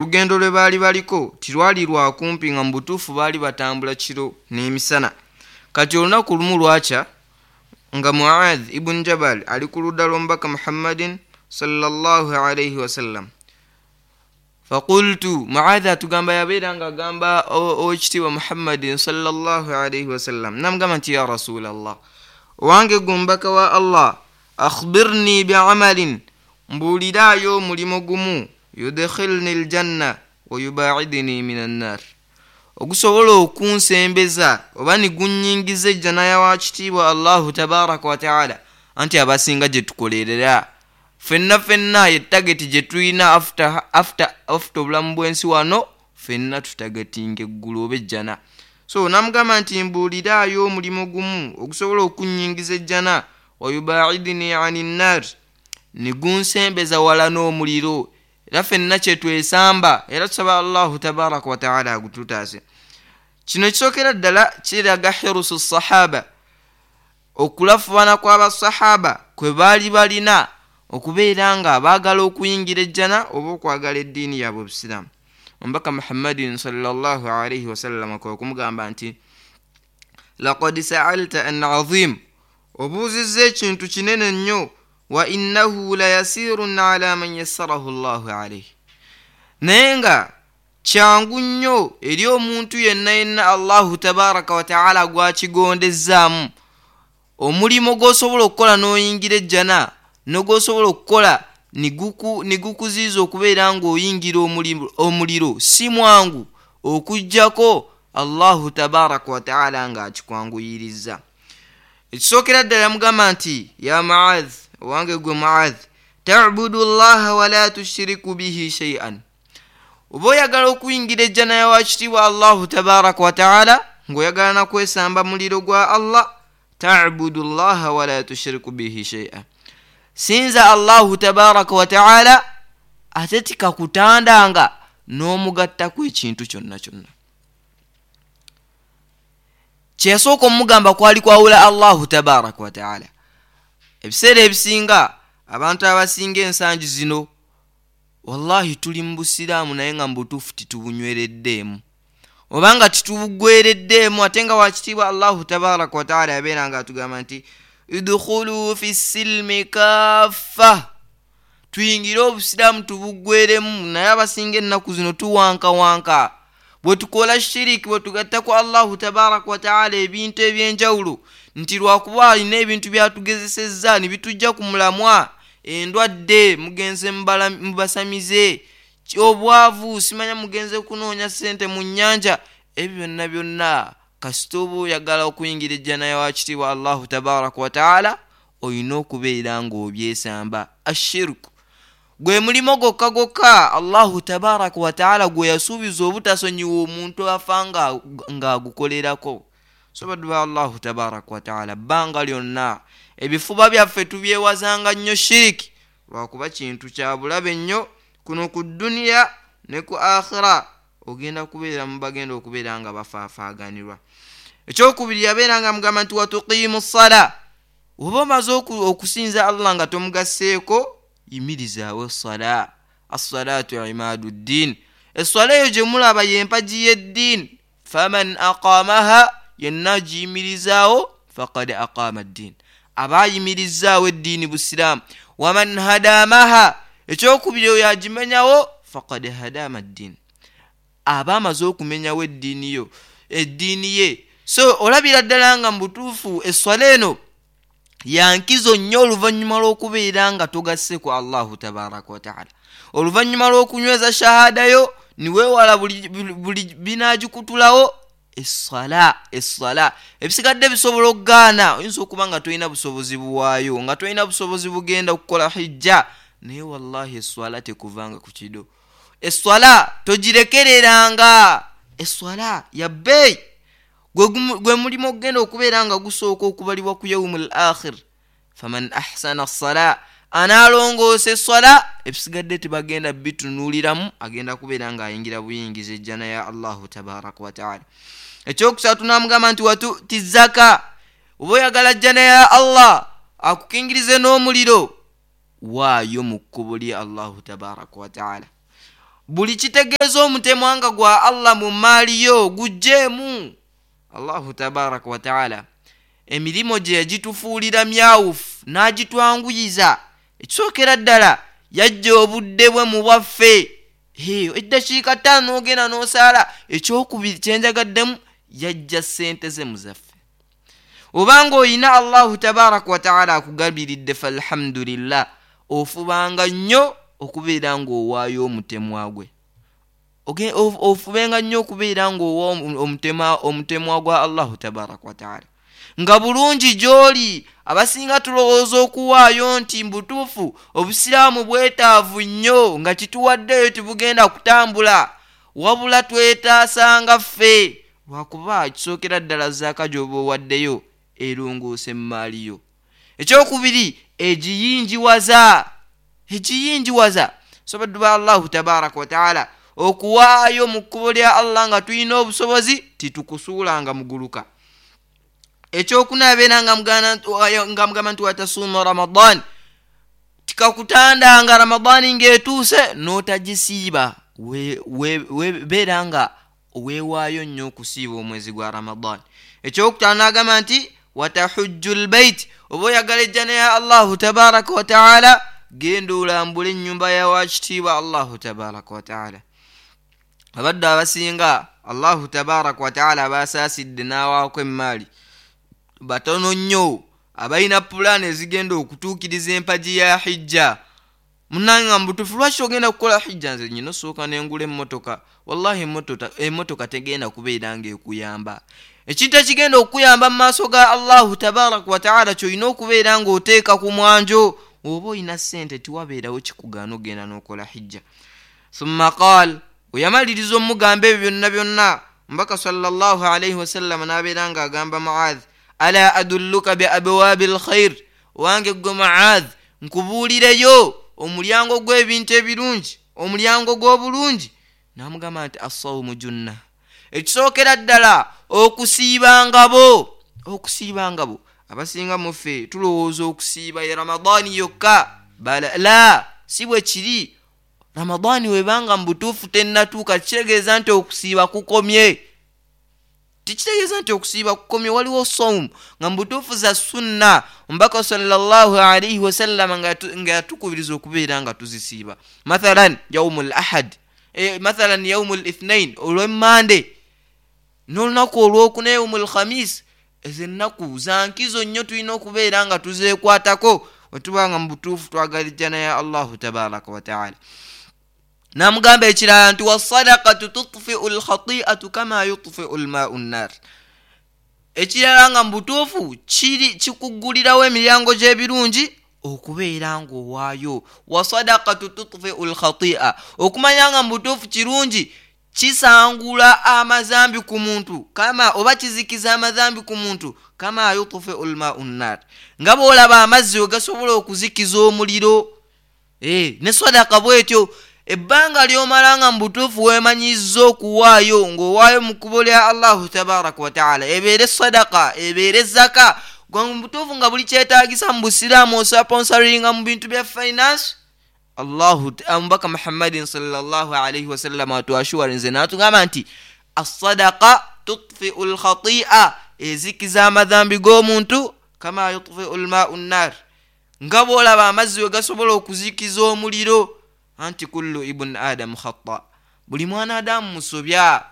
Olugendo lwe baali baliko tirwali lwa kumpi, nga mu butuufu baali batambula kiro n'emisana. Kati olunaku lumu lwakya nga Muadh ibuni Jabal ali ku ludda lw'omubaka Muhammadin sallallahu alaihi wasallam. Faqultu, Muadh atugamba yabeera nga agamba owekitiibwa Muhammadin sallallahu alaihi wasallam, namugamba nti ya rasulallah, owange gwe omubaka wa Allah, akhbirni biamalin, mbuuliraayo omulimu gumu, yudkhilni ljanna wayubaidni min annar, ogusobola okunsembeza oba nigunyingiza ejjana yawakitiibwa Allahu tabaraka wataala. Anti abasinga gye tukolerera ffenna ffenna ye tageti gye tulina after obulamu bw'ensi wano, ffenna tutagatinga eggulu oba ejjana. So namugamba nti mbuuliraayo omulimu gumu ogusobola okunyingiza ejjana, wayubaidni ani nnar, nigunsembeza wala n'omuliro. Era ffenna kyetwesamba, era tusaba Allahu tabaraka wataala agututaase. Kino ekisookera ddala kiraga hirusu sahaba, okulafubana kw'abasahaba kwe baali balina okubeera nga baagala okuyingira ejjana oba okwagala eddiini yaabwe obusiraamu. Omubaka Muhammadin sallallahu alaihi wasallama kwe kumugamba nti laqad saalta an azim, obuuzizza ekintu kinene nnyo, wa innahu la yasirun ala man yassarahu llahu alaihi, naye nga kyangu nnyo eri omuntu yenna yenna Allahu tabaraka wataala gwakigondezaamu. Omulimu gw'osobola okukola n'oyingira ejjana n'ogwosobola okukola nigukuziiza okubeera ng'oyingira omuliro si mwangu, okuggyako Allahu tabaraka wataala ng'akikwanguyiriza. Ekisookera ddala yamugamba nti ya Muadh, owange gwe Muadh, tabudu llaha wala tushiriku bihi sheian, oba oyagala okuyingira ejjana yawakitiibwa Allahu tabaraka wataala ng'oyagala nakwesamba muliro gwa Allah, tabudu llaha wala tushiriku bihi sheian, sinza Allahu tabaraka wataala ate tikakutandanga n'omugattako ekintu kyonna kyonna. Kyeyasooka omugamba kwali kwawula Allahu tabaraka wataala. Ebiseera ebisinga abantu abasinga ensangi zino wallahi tuli mu busiraamu naye nga mu butuufu titubunywereddeemu oba nga titubugwereddeemu, ate nga wakitiibwa Allahu tabaraka wataala yabeera nga atugamba nti idkhulu fi silmi kaffa, tuyingire obusiraamu tubugweremu. Naye abasinga ennaku zino tuwankawanka, bwe tukola shiriki, bwe tugatta ku Allahu tabaraka wataala ebintu ebyenjawulo, nti lwakuba alina ebintu byatugezesezza ne bitujja ku mulamwa, endwadde mugenze mubasamize, obwavu simanya mugenze kunoonya ssente mu nnyanja, ebyo byonna byonna kasita oba oyagala okuyingira ejjana yawakitiibwa Allahu tabaraka wataala olina okubeera ng'obyesamba. Ashirku gwe mulimo gwokka gwokka Allahu tabaraka wataala gwe yasuubiza obutasonyiwa omuntu afa ng'agukolerako. So baddu ba Allahu tabaraka wataala, bbanga lyonna ebifuba byaffe tubyewazanga nnyo shiriki, lwakuba kintu kya bulabe nnyo kuno ku duniya ne ku akhira, ogenda kubeera mu bagenda okubeera nga bafaafaaganirwa. Ekyokubiri yabeera nga mugamba nti watuqiimu ssala, oba omaze okusinza Allah nga tomugasseeko, yimirizaawo essala. Assalatu imaadu ddiin, esswala eyo gye mulaba y'empagi y'eddiini. Faman aqamaha, yenna agiyimirizaawo, faqad aqama ddiin, aba ayimirizaawo eddiini busiraamu. Waman hadamaha, ekyokubiri oyo agimenyawo, faqad hadama ddiin, aba amaze okumenyawo eddiini yo, eddiini ye. So olabira ddala nga mu butuufu esswala eno yankizo nnyo oluvannyuma lw'okubeera nga togasse ku Allahu tabaraka wataala, oluvannyuma lw'okunyweza shahada yo niweewala buli binaagikutulawo. Essala ebisigadde bisobola okugaana, oyinza okuba nga tolina busobozi buwaayo, nga tolina busobozi bugenda okukola hijja, naye wallahi esswala tekuvanga ku kido, esswala togirekereranga. Esswala ya bbeeyi, gwe mulimu okugenda okubeera nga gusooka okubalibwa ku yaumu l akhir. Faman ahsana ssala, anaalongoosa esswala, ebisigadde tebagenda bitunuuliramu, agenda kubeera ng'ayingira buyingiza ejjana ya Allahu tabaraka wataala. Ekyokusatu n'amugamba nti watuti zaka, oba oyagala jjana ya Allah akukingirize n'omuliro, waayo mu kkubo lye Allahu tabaraka wataala. Buli kitegeeza omutemwa nga gwa Allah mu maali yo gugjeemu. Allahu tabaraka wataala emirimu gye yagitufuulira myawufu n'agitwanguyiza. Ekisookera ddala, yajja obudde bwe mu bwaffe, eddakiika 5 n'ogenda n'osaala. Ekyokubiri kyenjagaddemu, yajja ssente ze mu zaffe. Obanga oyina Allahu tabaraka wataala akugabiridde, falhamdulillah, ofubanga nnyo okubeera ng'owaayo omutemwa gwe. Ofubenga nnyo okubeera ng'owa omutemwa gwa Allahu tabaraka wataala nga bulungi gy'oli. Abasinga tulowooza okuwaayo nti mbutuufu obusiraamu bwetaavu nnyo, nga kituwaddeyo tibugenda kutambula, wabula twetaasanga ffe, lwakuba kisookera ddala zaaka gy'oba owaddeyo erongoose emmaali yo. Ekyokubiri, egiyinjiwaza. So baddu ba Allahu tabaraka wataala, okuwaayo mu kkubo lya Allah nga tulina obusobozi titukusuulanga muguluka. Ekyokuna, abeera nga mugamba nti watasuuma Ramadan, tikakutandanga Ramadaani ng'etuuse n'otagisiiba. Beera nga weewaayo nnyo okusiiba omwezi gwa Ramadan. Ekyokutaano, n'agamba nti watahujju lbait, oba oyagala ejjana ya Allahu tabaraka wataala, genda olambule ennyumba ya wakitiibwa Allahu tabaraka wataala. Abadde abasinga Allahu tabaraka wataala abasaasidde n'awaako emmaali, batono nnyo abalina pulaani ezigenda okutuukiriza empagi ya hijja. Munange, nga mubutuufu lwaki ogenda kukola hijja? Nze nyina osooka nengula emmotoka. Wallahi, emmotoka tegenda kubeera ngaekuyamba. Ekintu ekigenda okukuyamba mu maaso ga Allahu tabaraka wataala kyolina okubeera ng'oteeka ku mwanjo. Oba olina ssente, tiwabeerawo kikugaana ogenda n'okola hijja. Thumma qaal, weyamaliriza omugamba ebyo byonna byonna, omubaka sallallahu alaihi wasallama n'abeera ng'agamba Muadh, ala adulluka bi abwabi lkhair, wange gwe Muadh, nkubuulireyo omulyango gw'ebintu ebirungi, omulyango gw'obulungi? N'amugamba nti assawumu junna. Ekisookera ddala, okusiiba ngabo. Okusiiba ngabo. Abasinga muffe tulowooza okusiiba ye Ramadaani yokka. Bala la, si bwe kiri. Ramadaani webanga mu butuufu tennatuuka, kitegeeza nti okusiiba kukomye? Tikitegeeza nti okusiiba kukomye. Waliwo sawumu nga mu butuufu za sunna, omubaka sallallahu alaihi wasallama nga yatukubiriza okubeera nga tuzisiiba, mathalan yaumu l ahad, mathalan yaumu l ithnain, olwemmande, n'olunaku olwokuna, yaumu l khamis. Ezo ennaku za nkizo nnyo, tulina okubeera nga tuzeekwatako wetuba nga mu butuufu twagala ejjana ya Allahu tabaraka wataala. Namugamba ekirala nti wasadakatu tutfiu lkhatiatu kama yutfiu lmau nnar. Ekirala nga mu butuufu kiri kikuggulirawo emiryango gy'ebirungi okubeera ng'owaayo. Wasadakatu tutfiu lkhatia, okumanya nga mu butuufu kirungi kisangula amazambi ku muntu, kama oba kizikiza amazambi ku muntu, kama yutfiu lmau nnar, nga bw'olaba amazzi we gasobola okuzikiza omuliro. Ne sadaka bwetyo, ebbanga ly'omala nga mu butuufu weemanyiza okuwaayo, ng'owaayo mu kkubo lya Allahu tabaraka wataala, ebeere sadaka, ebeere zaka, gwe mu butuufu nga buli kyetaagisa mu busiraamu osponsoringa mu bintu bya finance. Allahu, omubaka Muhammadin sallallahu alaihi wasallama atuassurinze n'atugamba nti assadaka tutfiu lkhatia, ezikiza amadhambi g'omuntu, kama yutfiu lmau nnar, nga bw'olaba amazzi we gasobola okuzikiza omuliro. Anti kullu ibuni adamu khata, buli mwana adamu musobya.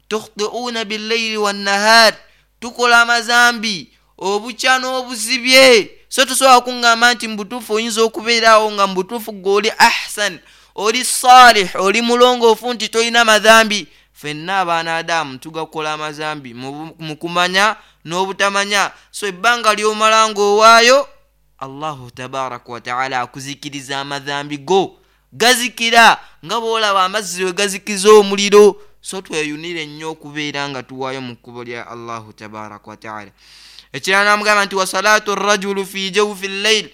Tukhtiuuna billaili wannahar, tukola amazambi obukya n'obuzibye. So tosobola kuŋŋamba nti mubutuufu oyinza okubeeraawo nga mubutuufu gwe oli ahsan, oli salih, oli mulongoofu, nti tolina madhambi. Ffenna abaana adamu tugakola amazambi mu kumanya n'obutamanya. So ebbanga ly'omala ng'owaayo, Allahu tabaraka wataala akuzikiriza amadhambi go, gazikira nga bw'olaba amazzi we gazikiza omuliro. So tweyunire nnyo okubeera nga tuwaayo mu kkubo lya Allahu tabaraka wataala. Ekirala namugamba nti wasalatu rajulu fi jawfi llail,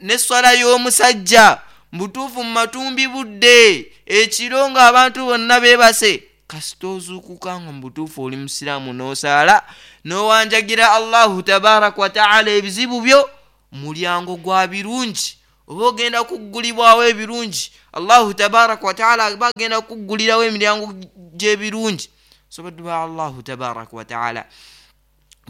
neswala y'omusajja mubutuufu mu matumbi budde ekiro ng'abantu bonna beebase, kasita ozuukuka nga mubutuufu oli musiraamu n'osaala n'owanjagira Allahu tabaraka wataala ebizibu byo, mulyango gwa birungi. Oba ogenda kuggulibwawo ebirungi. Allahu tabaraka wataala aba agenda kuggulirawo emiryango gy'ebirungi. So baddu ba Allahu tabaraka wataala,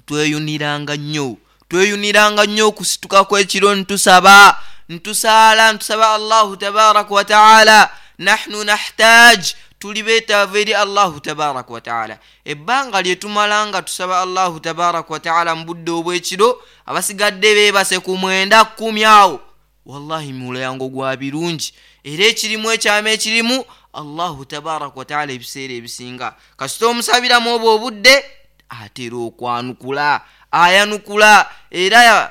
tweyuniranga nnyo, tweyuniranga nnyo okusituka kw'ekiro, ntusaba, ntusaala, ntusaba Allahu tabaraka wataala. Nahnu nahtaj, tuli beetaavu eri Allahu tabaraka wataala. Ebbanga lye tumala nga tusaba Allahu tabaraka wataala mu budde obw'ekiro, abasigadde beebase ku 9, 10 awo, wallahi mulyango gwa birungi. Era ekirimu ekyama ekirimu, Allahu tabaraka wataala ebiseera ebisinga kasita omusabiramu obwo obudde atera okwanukula, ayanukula. Era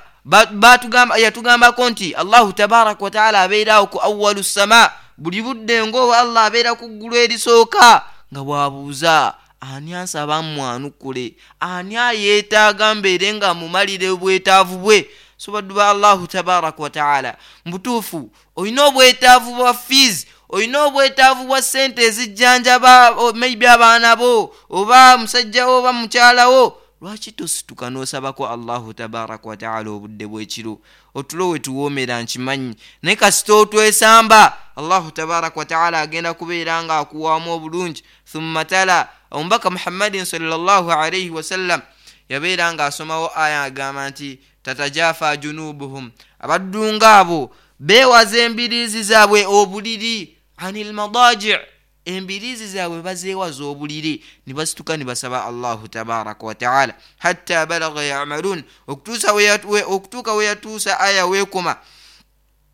yatugambako nti Allahu tabaraka wataala abeeraawo ku awalu sama buli budde, ngaoba Allah abeera ku ggulu erisooka nga bw'abuuza, ani ansaba mwanukule? Ani ayeetaaga mbeere nga mumalire obwetaavu bwe? So baddu ba Allahu tabaraka wataala, mubutuufu olina obwetaavu bwa fees, olina obwetaavu bwa ssente ezijjanjaba maybe abaana bo oba musajjawo oba mukyalawo, lwaki tosituka n'osabako Allahu tabaraka wataala obudde bw'ekiro? Otulo we tuwoomera nkimanyi, naye kasita otwesamba, Allahu tabaraka wataala agenda kubeera nga akuwaamu obulungi. Thumma tala, omubaka Muhammadin sallallahu alaihi wasallam yabeera ng'asomawo aya agamba nti tatajafa junubuhum, abaddu ngaabo beewaza embiriizi zaabwe obuliri, ani lmadaji, embiriizi zaabwe bazeewaza obuliri ne basituka ne basaba Allahu tabaraka wataala, hatta balaga yamalun, okutuuka we yatuusa aya weekoma.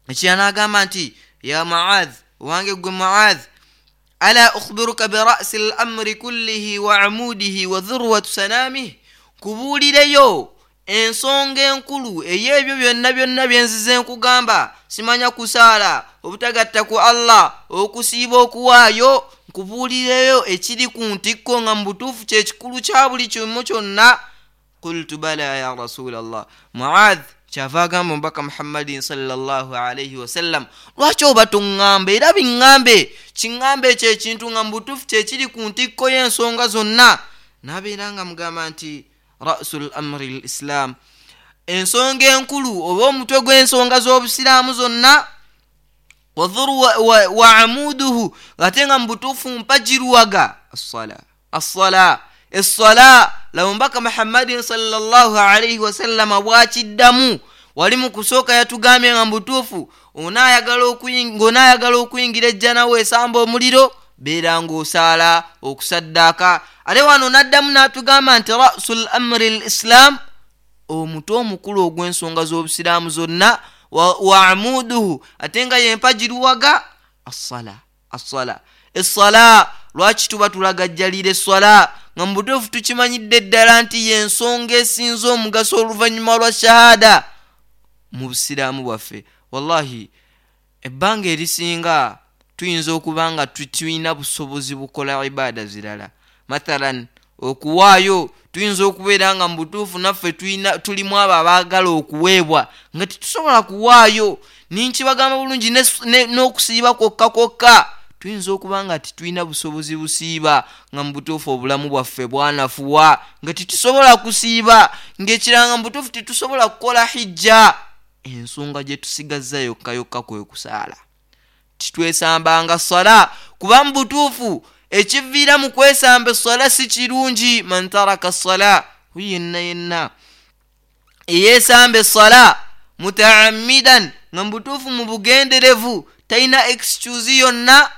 Ekira n'agamba nti ya Muadh, owange gwe Muadh, ala ukhbiruka birasi l amri kullihi wa amudihi wa dhurwatu sanamih, kubuulireyo ensonga enkulu ey'ebyo byonna byonna byenzize nkugamba, simanya kusaala, obutagatta ku Allah, okusiiba, okuwaayo, nkubuulireyo ekiri ku ntikko nga mu butuufu kyekikulu kya buli kimu kyonna? Qultu bala ya rasulallah. Muadh kyava agamba omubaka Muhammadin sallallahu alaihi wasallam, lwaki oba toŋŋamba? Era biŋŋambe, kiŋŋambe ekyo ekintu nga mu butuufu kyekiri ku ntikko y'ensonga zonna. N'abeera nga mugamba nti rasu l amri l islam, ensonga enkulu oba omutwe gw'ensonga z'obusiraamu zonna, wadhuru wa amuduhu, ate nga mu butuufu mpagiruwaga, assala, assala, essala. Laba omubaka Muhammadin sallallahu alaihi wasallama bwakiddamu. Wali mu kusooka yatugambye nga mu butuufu ng'onaayagala okuyingira ejjana weesamba omuliro, beera ng'osaala, okusaddaaka. Ate wano n'addamu n'atugamba nti rasu l amri l islam, omutwe omukulu ogw'ensonga z'obusiraamu zonna, wa amuduhu, ate nga yempagiruwaga, assala, assala, essala. Lwaki tuba tulagajjalira esswala nga mu butuufu tukimanyidde ddala nti y'ensonga esinza omugaso oluvannyuma lwa shahada mu busiraamu bwaffe? Wallahi ebbanga erisinga tuyinza okuba nga tulina busobozi bukola ibaada zirala, mathalan okuwaayo, tuyinza okubeera nga mu butuufu naffe tulimu abo abaagala okuweebwa nga tetusobola kuwaayo. Ninkibagamba bulungi, n'okusiiba kwokka kwokka tuyinza okuba nga tetulina busobozi busiiba, nga mu butuufu obulamu bwaffe bwanafuwa nga tetusobola kusiiba, ng'ekiranga mu butuufu tetusobola kukola hijja. Ensonga gye tusigazza yokka yokka kwe kusaala. Titwesambanga sala, kuba mu butuufu ekiviira mu kwesamba essala si kirungi. Man taraka sala, yenna yenna eyeesamba essala mutaamidan, nga mu butuufu mu bugenderevu, talina excuse yonna,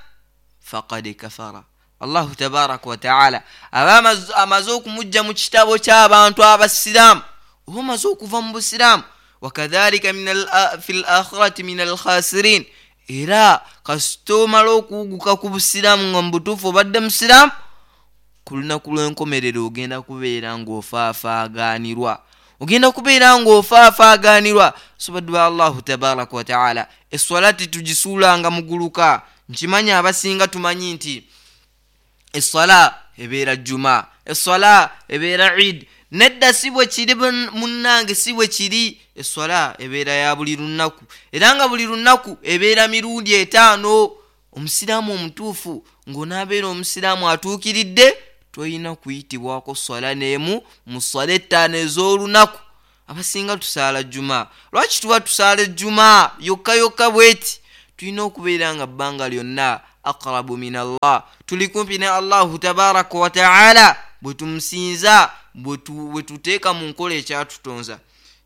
faqad kafara. Allahu tabaraka wataala aba amaze okumujja mu kitabo ky'abantu abasiraamu, oba omaze okuva mu busiraamu. Wakadhalika fi l akhirati min alkhasirin, era kasita omala okuwuguka ku busiraamu nga mu butuufu obadde musiraamu, ku lunaku lw'enkomerero ogenda kubeera ng'ofaafaagaanirwa, ogenda kubeera ng'ofaafaagaanirwa. So baddu ba Allahu tabaraka wataala, esswala tetugisuulanga muguluka. Nkimanyi abasinga tumanyi nti esswala ebeera juma, esswala ebeera id. Nedda, si bwe kiri munnange, si bwe kiri. Esswala ebeera ya buli lunaku, era nga buli lunaku ebeera mirundi 5. Omusiraamu omutuufu ng'onaabeera omusiraamu atuukiridde, tolina kuyitibwako swala n'emu mu swala 5 ez'olunaku. Abasinga tusaala juma. Lwaki tuba tusaala ejjuma yokka yokka bweti? Tulina okubeera nga bbanga lyonna aqrabu min Allah, tuli kumpi ne Allahu tabaraka wataala, bwe tumusinza, bwe tuteeka mu nkola ekyatutonza.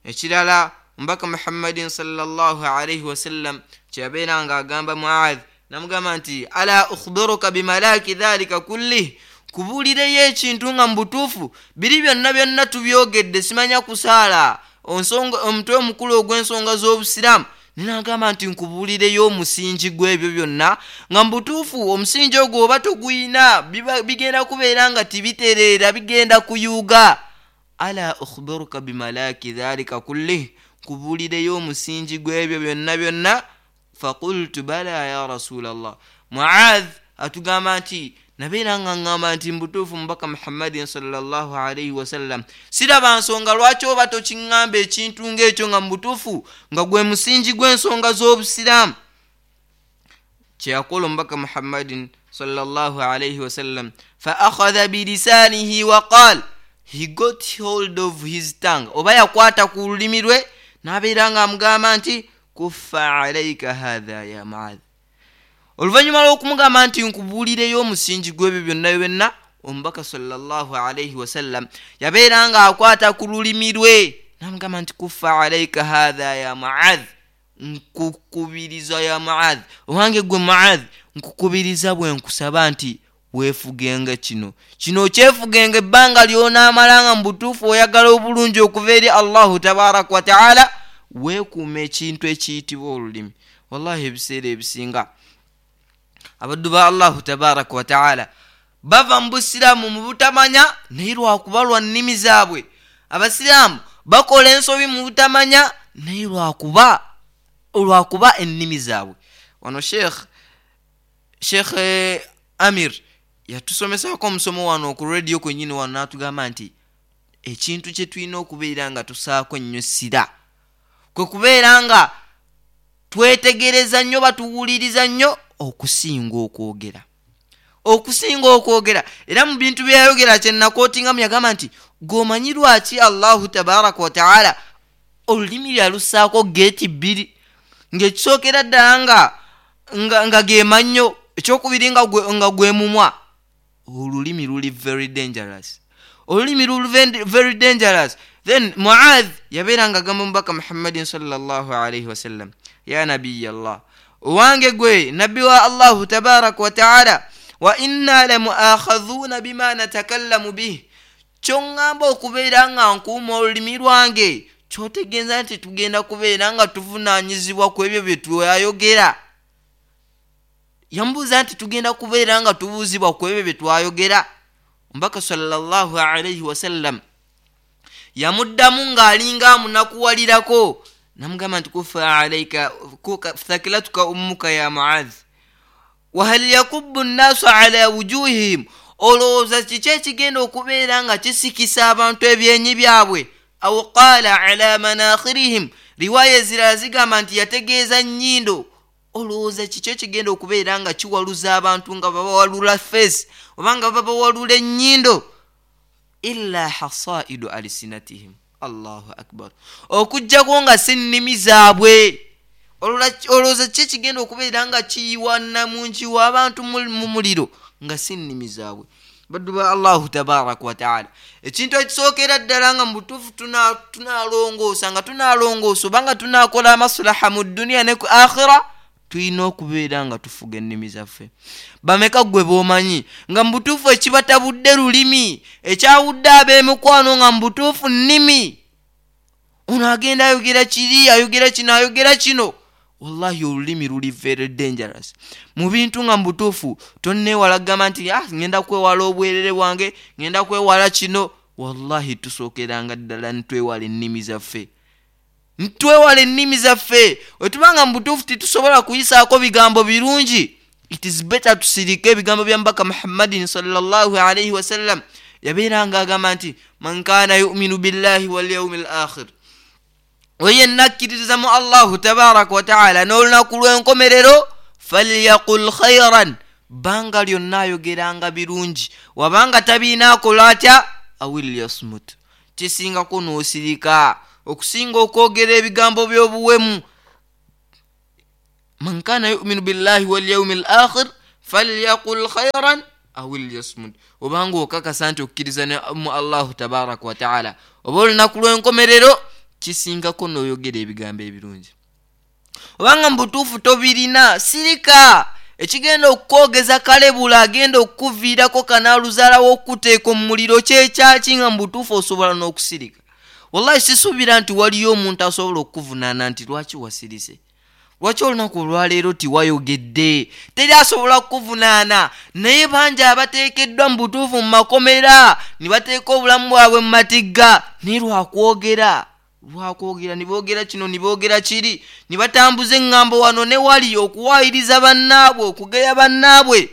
Ekirala, omubaka Muhammadin salllah alaihi wasallam kyeyabeera nga agamba Muadh, namugamba nti ala ukhbiruka bimalaki dhalika kullih, kubuulireyo ekintu nga mu butuufu biri byonna byonna tubyogedde, simanya kusaala omutwe omukulu ogw'ensonga z'obusiraamu. Ninagamba nti nkubuulireyo omusingi gw'ebyo byonna, nga mu butuufu omusingi ogwo oba toguyina bigenda kubeera nga tibitereera, bigenda kuyuuga. Ala ukhbiruka bimalaki dhalika kullih, nkubuulireyo omusingi gw'ebyo byonna byonna. Faqultu bala ya rasulallah. Muadh atugamba nti nabeera nga ŋŋamba nti mubutuufu mubaka Muhammadin salllah alaihi wasallam, siraba nsonga lwaki oba tokiŋŋamba ekintu ng'ekyo, nga mubutuufu nga gwe musingi gw'ensonga z'obusiraamu. Kyeyakola omubaka Muhammadin salllah alaihi wasallam, fa akhadha bilisanihi wa qal, he got hold of his tongue, oba yakwata ku lulimi lwe n'abeera nga amugamba nti kuffa alaika hatha ya Muadh. Oluvannyuma lw'okumugamba nti nkubuulireyo omusingi gw'ebyo byonna byonna, omubaka salllah alaihi wasallam yabeera nga akwata ku lulimi lwe namugamba nti kuffa alaika hatha ya Muadh, nkukubiriza ya Muadh, owange gwe Muadh, nkukubiriza bwe nkusaba nti weefugenga kino kino, okyefugenga ebbanga lyonaamala nga mu butuufu oyagala obulungi okuva eri Allahu tabaraka wataala. Weekuuma ekintu ekiyitibwa olulimi. Wallahi ebiseera ebisinga abaddu ba Allahu tabaraka wataala bava mu busiraamu mu butamanya, naye lwakuba lwa nnimi zaabwe. Abasiraamu bakola ensobi mu butamanya, naye lwakuba ennimi zaabwe. Wano Sheikh Amir yatusomesaako omusomo wano ku rediyo kwenyini wano, n'atugamba nti ekintu kye tulina okubeera nga tusaako ennyo sira kwe kubeera nga twetegereza nnyo, batuwuliriza nnyo okusinga okwogera, okusinga okwogera. Era mu bintu byeyayogera kyenakootingamu, yagamba nti gweomanyi lwaki Allahu tabaraka wataala olulimi lyalussaako geeti bbiri, ng'ekisookera ddala nga gemannyo, ekyokubiri nga gwe mumwa? Olulimi luli very dangerous, olulimi luli very dangerous. Then Muadh yabeera nga agamba omubaka Muhammadin salllah alaihi wasallam, ya nabiya Allah, owange gwe nabbi wa Allahu tabaraka wataala, wa inna lamuakhadhuna bima natakallamu bih, kyoŋŋamba okubeera nga nkuuma olulimi lwange, kyotegeeza nti tugenda kubeera nga tuvunaanyizibwa ku ebyo bye twayogera? Yamubuuza nti tugenda kubeera nga tubuuzibwa ku ebyo bye twayogera? Omubaka salllah alaihi wasallam yamuddamu ng'alinga amunakuwalirako, namugamba nti kufa alaika thakilatuka ummuka ya Muadh, wahal yakubu nnaasu ala wujuhihim, olowooza kiki ekigenda okubeera nga kisikisa abantu ebyenyi byabwe? Au qaala ala manakhirihim, riwaaya ezirala zigamba nti yategeeza nnyindo. Olowooza kiki ekigenda okubeera nga kiwaluza abantu, nga babawalula face oba nga babawalula ennyindo? Illa hasaidu alsinatihim. Allahu akbar! Okugjako nga si nnimi zaabwe. Olowooza ki ekigenda okubeera nga kiyiwa namungi w'abantu mu muliro nga si nnimi zaabwe? Baddu ba Allahu tabaraka wataala, ekintu ekisookera ddala nga mu butuufu tunalongoosa, nga tunalongoosa oba nga tunakola amasulaha mu duniya ne ku akhira, tulina okubeera nga tufuga ennimi zaffe. Bameka gwe b'omanyi nga mu butuufu ekibatabudde lulimi, ekyawudde ab'emikwano nga mu butuufu nnimi? Ono agenda ayogera kiri, ayogera kino, ayogera kino. Wallahi olulimi luli very dangerous mu bintu nga mu butuufu tonneewala kugamba nti ah, ngenda kwewala obwerere bwange, ngenda kwewala kino. Wallahi tusookeranga ddala ntwewala ennimi zaffe, ntwewala ennimi zaffe. Wetubanga mu butuufu titusobola kuyisaako bigambo birungi, it is better tusirike. Ebigambo bya mubaka Muhammadin salllah alaihi wasallam, yabeeranga agamba nti man kana yuminu billahi walyaumi l akhir, oyo yenna akkiririza mu Allahu tabaraka wataala n'olunaku lw'enkomerero, falyaqul khairan, bbanga lyonna ayogeranga birungi, wabanga tabiina akola atya? Awil yasmut, kisingako n'osirika. Okusinga okwogera ebigambo by'obuwemu. Man kana yuminu billahi walyaumi l akhir falyaqul khairan aw lyasmut. Obanga okakasa nti okkiriza mu Allahu tabaraka wataala oba olunaku lw'enkomerero, kisingako n'oyogera ebigambo ebirungi. Obanga mu butuufu tobirina, sirika. Ekigenda okukwogeza kalebula agenda okukuviirako kanaaluzaalawo okukuteeka omu muliro kyekyaki, nga mu butuufu osobola n'okusirika? Wallahi sisuubira nti waliyo omuntu asobola okukuvunaana nti lwaki wasirise, lwaki olunaku olwaleero tiwayogedde. Teri asobola kukuvunaana. Naye bangi abateekeddwa mu butuufu mu makomera ne bateeka obulamu bwabwe mu matigga, naye lwakwogera, lwakwogera, ne boogera kino, ne boogera kiri, ne batambuza eŋŋambo wano ne wali okuwaayiriza bannaabwe, okugeya bannaabwe.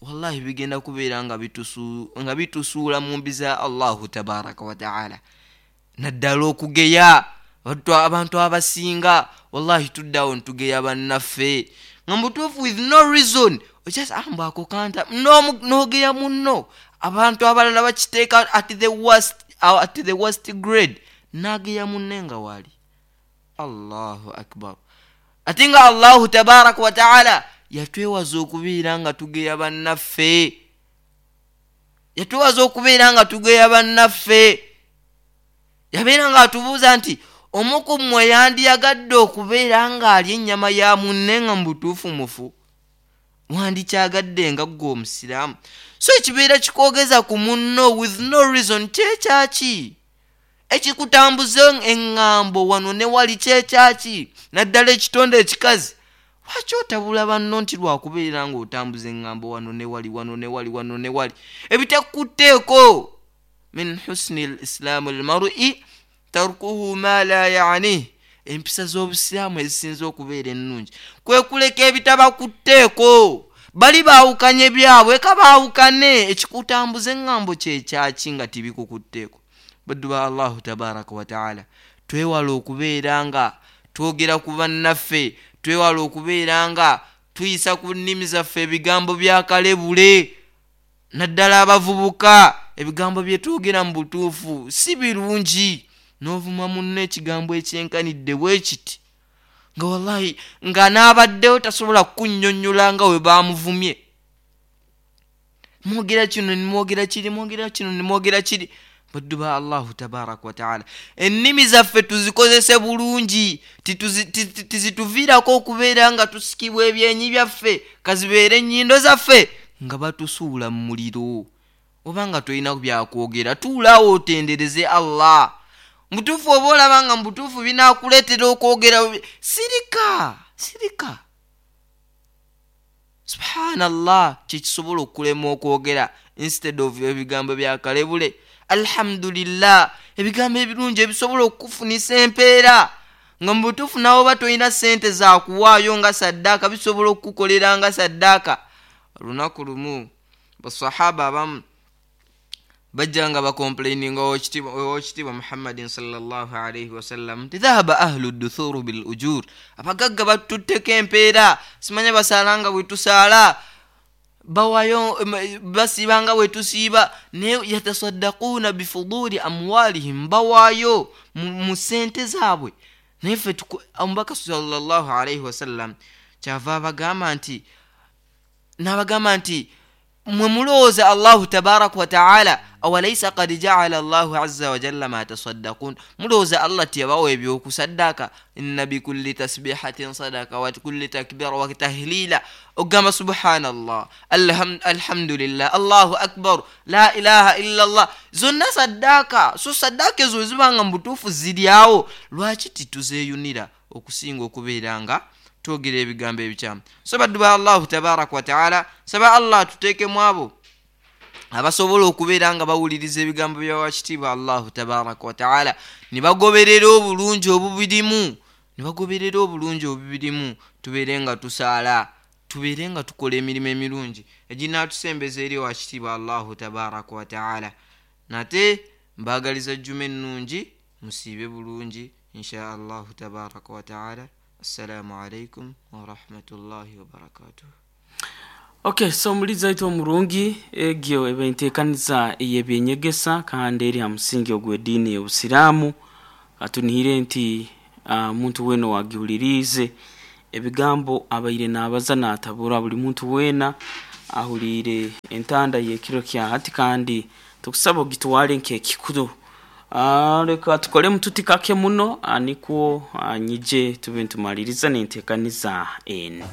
Wallahi bigenda kubeera nga bitusuula mu mbi za Allahu tabaraka wataala. Naddala okugeya abantu abasinga, wallahi tuddawo ntugeya bannaffe nga mubutuufu with no reason. Just mbu ako kanta, n'ogeya munno. Abantu abalala bakiteeka at the worst grade, n'ageya munne nga wali. Allahu akbar! Ate nga Allahu tabaraka wataala yatwewaza okubeera nga tugeya bannaffe, yatwewaza okubeera nga tugeya bannaffe. Yabeera nga atubuuza nti omu ku mmwe yandiyagadde okubeera ng'alya ennyama ya munne nga mu butuufu mufu? Wandikyagadde nga ggwe omusiraamu? So ekibeera kikwogeza ku munno with no reason kyekyaki? Ekikutambuza eŋŋambo wano ne wali kyekyaki? Naddala ekitonde ekikazi, lwaki otabula banno nti lwakubeera ng'otambuza eŋŋambo wano ne wali, wano ne wali, wano ne wali, ebitakutteeko? Min husni lislaamu lmarui tarkuhu ma la yanih. Empisa z'obusiraamu ezisinza okubeera ennungi kwe kuleka ebitabakutteeko. Bali baawukanye byabwe, ka baawukane. Ekikutambuza eŋŋambo kyekyaki nga tibikukutteeko? Baddu ba Allahu tabaraka wataala, twewala okubeera nga twogera ku bannaffe, twewala okubeera nga tuyisa ku nnimi zaffe ebigambo byakalebule. Naddala abavubuka, ebigambo bye twogera mu butuufu si birungi. N'ovuma munno ekigambo ekyenkanidde bwe kiti, nga wallahi nga n'abaddewo tasobola kukunnyonnyola nga we baamuvumye. Mwogera kino, nimwogera kiri, mwogera kino, nimwogera kiri. Baddu ba Allahu tabaraka wataala, ennimi zaffe tuzikozese bulungi, tizituviirako okubeera nga tusikibwa ebyenyi byaffe, kazibeere ennyindo zaffe nga batusuula mu muliro. Oba nga tolina byakwogera, tuulaawo otendereze Allah. Mubutuufu oba olaba nga mubutuufu binaakuleetera okwogera, sirika, sirika. Subhanallah, kyekisobola okukulema okwogera instead of ebigambo byakalebule, alhamdulillah, ebigambo ebirungi ebisobola okukufunisa empeera, nga mu butuufu nawe oba tolina sente zakuwaayo nga saddaaka, bisobola okukukolera nga saddaaka. Olunaku lumu basahaba abamu bajja nga bacomplaininga owekitiibwa Muhammadin salllah alaihi wasallam nti dhahaba ahlu duthuru bil ujur, abagagga batutteko empeera, simanya basaala nga bwe tusaala, bawayo, basiiba nga bwe tusiiba, naye yatasaddaquuna bifuduli amwalihim, bawaayo mu sente zaabwe, naye ffe. Omubaka salllah alaihi wasallam kyava abagamba nti, n'abagamba nti mwe mulowooza Allahu tabaraka wataala, awalaisa kad jaala Allahu aza wajalla ma tasaddakun, mulowooza Allah teyabawa ebyokusaddaaka? Inna bikulli tasbihatin sadaka wa kulli takbira wa tahlila, okugamba subhanallah, alhamdulillah, Allahu akbar, la ilaha illa llah, zonna saddaaka. So saddaaka ezo wezibanga mu butuufu ziryawo, lwaki tituzeeyunira okusinga okubeera nga twogera ebigambo ebikyamu? So baddu ba Allahu tabaraka wataala, saba Allah atuteekemu abo abasobola okubeera nga bawuliriza ebigambo byawakitiibwa Allahu tabaraka wataala, ne bagoberera obulungi obubirimu, ne bagoberera obulungi obubirimu. Tubeere nga tusaala, tubeere nga tukola emirimu emirungi eginatusembeza eri owakitiibwa Allahu tabaraka wataala. Nate mbaagaliza jjuma ennungi, musiibe bulungi insha Allahu tabaraka wataala. Assalamu alaikum warahmatullahi wabarakatuh. Okay, so omulizi waitu omurungi, egyo eba enteekaniza ey'ebyenyegesa kandi eri ha musingi ogw'ediini y'obusiraamu. Katunihire nti muntu weena owagihuliriize ebigambo abaire naabaza naatabura buli muntu weena ahuliire entanda y'ekiro kya hati, kandi tukusaba ogitwale nk'ekikuru. Leka tukolemu tuti kake muno, nikwo nyije tube nitumaliriza n'enteekaniza endi.